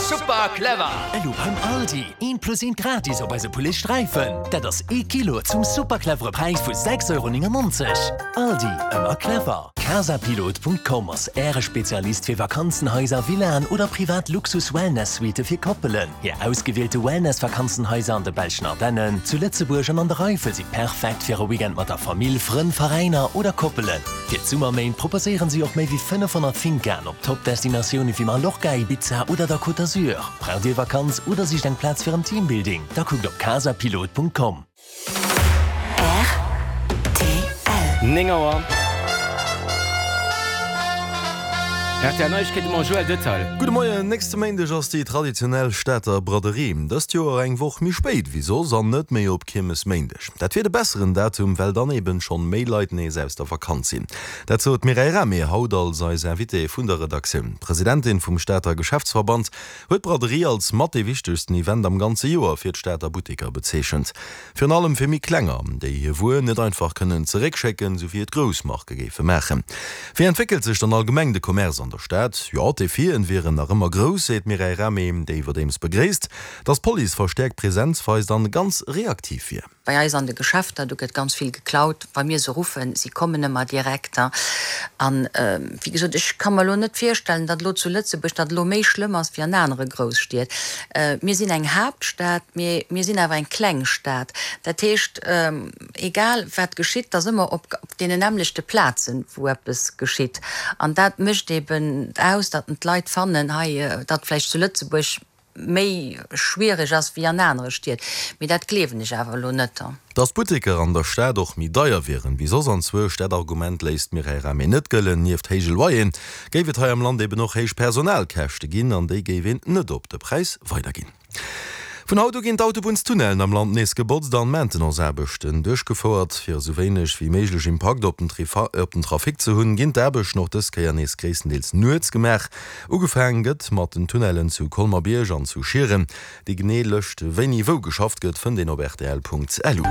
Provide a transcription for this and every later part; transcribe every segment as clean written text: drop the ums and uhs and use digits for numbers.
Super clever! Elo beim Aldi, eent plus eent gratis op eise Poulet Sträifen. Dat ass ee Kilo zum super clevere Präis vu 6,99 Euro. Aldi, ëmmer clever! Casapilot.com ass Äre Spezialist fir Vakanzenhaiser, Villaen oder privat Luxus-Wellness-Suitte fir Koppelen. Hir ausgewielte Wellness-Vakanzenhaiser an de belschen Ardennen, zu Lëtzebuerg an an der Eifel si perfekt fir e Weekend mat der Famill, Frënn, Veräiner oder Koppelen. Fir d'Summerméint proposéieren si och méi wéi 500 Fincaen op Top-Destinatioune wéi Mallorca, Ibiza oder der Côte d'Azur. Braucht Dir Vakanz oder sicht eng Plaz fir en Teambuilding? Da kuckt op casapilot.com. Rtl. 9 Auer. Rtl Neiegkeete mam Joël Detail. Gudde Moien, Nächste Méindeg ass déi traditionell Stater Braderie. Dëst Joer eng Woch méi spéit wéi soss an net méi op Kiermesméindeg. Dat wier de besseren Datum, well dann eben schonn méi Leit nees aus der Vakanz sinn. Dat sot d'Mireille Rahmé haut als eis Invitée vun der Redaktioun. D'Presidentin vum Stater Geschäftsverband huet d'Braderie als mat dee wichtegsten Event am ganze Joer fir d'Stater Butteker bezeechent. Virun allem fir méi klenger, déi hir Wuer net einfach kënnen zeréckschécken, sou wéi et grouss Marke géife maachen. Wéi entwéckelt sech dann allgemeng de Commerce an der Stad? Jo, d'Defien wieren nach ëmmer grouss, seet d'Mireille Rahmé, déi iwwerdeems begréisst, datt d'Police verstäerkt Presenz weist an ganz reaktiv wier. Bei eis an de Geschäfter, do gëtt ganz vill geklaut. Wa mir se ruffen, si kommen ëmmer direkt. An, wéi gesot, ech ka mer elo net virstellen, datt elo zu Lëtzebuerg dat elo méi schlëmm ass wéi an anere Grousstied. Mir sinn eng Haaptstad, mee mir sinn awer eng kleng Stad. Dat heescht, egal wat geschitt, et ass ëmmer op deenen nämmlechte Plazen, wou eppes geschitt. An dat mécht eben aus, datt d'Leit fannen, hei, datt vläicht zu Lëtzebuerg méi schwiereg ass wéi an anere Stied, mee dat gleewen ech awer elo net. Dass d'Butteker an der Stad och méi deier wieren wéi soss anzwousch, dat Argument léisst d'Mireille Rahmé net gëllen. Nieft héije Loyeren géif et hei am Land eben och héich Personalkäschte ginn an déi géif een net op de Präis weiderginn. Vun haut u ginn d'Autobunnstunnellen am Land nees gebotzt an Maintenance-Aarbechten duerchgefouert. Fir esou wéineg wéi méiglech Impakt op den Trafic ze hunn, ginn d'Aarbechten och dës Kéier nees gréisstendeels nuets gemaach. Ugefaang gëtt mat den Tunnellen zu Colmer-Bierg an zu Schieren. Déi genee Lëscht wéini wou geschafft gëtt fënnt een op rtl.lu.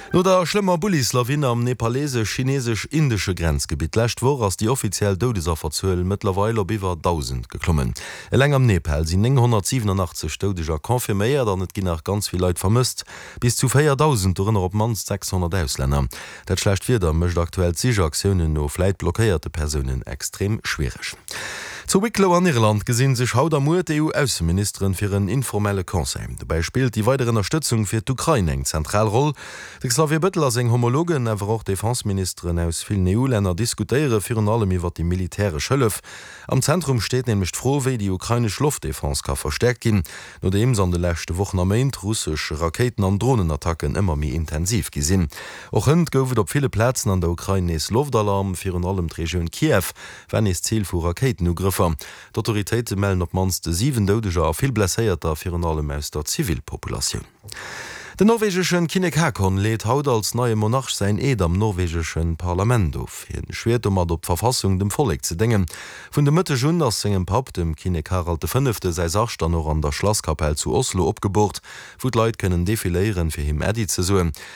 No der schlëmmer Bullislawin am nepalesesch-chinesesch-indesche Grenzgebitt d'lescht Woch ass déi offiziell Doudesafferzuel mëttlerweil op iwwer 1.000 geklommen. Eleng am Nepal sinn 987 Doudeger confirméiert an et ginn nach ganz vill Leit vermësst, bis zu 4.000, dorënner op d'mannst 600 Auslänner. Dat schlecht Wieder mécht aktuell d'Sichaktiounen no vläit blockéierte Persounen extrem schwiereg. Zu Wicklow an Irland gesinn sech haut a muer d'EU-Ausseministeren fir en informelle Conseil. Dobäi spillt déi weider Ënnerstëtzung fir d'Ukrain eng zentral Roll. De Xavier Bettel a seng Homologen, awer och Defenseministeren aus villen EU-Länner diskutéiere virun allem iwwer déi militäresch Hëllef. Am Zentrum steet nämlech d'Fro, wéi déi ukrainesch Loftdefense ka verstäerkt ginn, nodeems an de leschte Wochen a Méint russesch Rakéiten an Dronenattacken ëmmer méi intensiv gi sinn. Och hënt gouf et op ville Plazen an der Ukrain nees Loftalarm. Virun allem d'Regioun Kiew war nees Zil vu Rakéitenugrëffer. D'Autoritéite mellen op d'mannst 7 Doudeger a vill Blesséierter, virun allem aus der Zivilpopulatioun. Den norwegeschen Kinnek Haakon leet haut als neie Monarch säin Eed am norwegeschen Parlament of. Hien schwiert domat op d'Verfassung dem Vollek ze déngen. Vun de Mëtteg un ass sengem Papp, dem Kinnek Harald de Fënnefte, säi Sarg dann och an der Schlasskapell zu Oslo opgeboort, wou d'Leit kënnen defiléieren, fir him Äddi ze soen.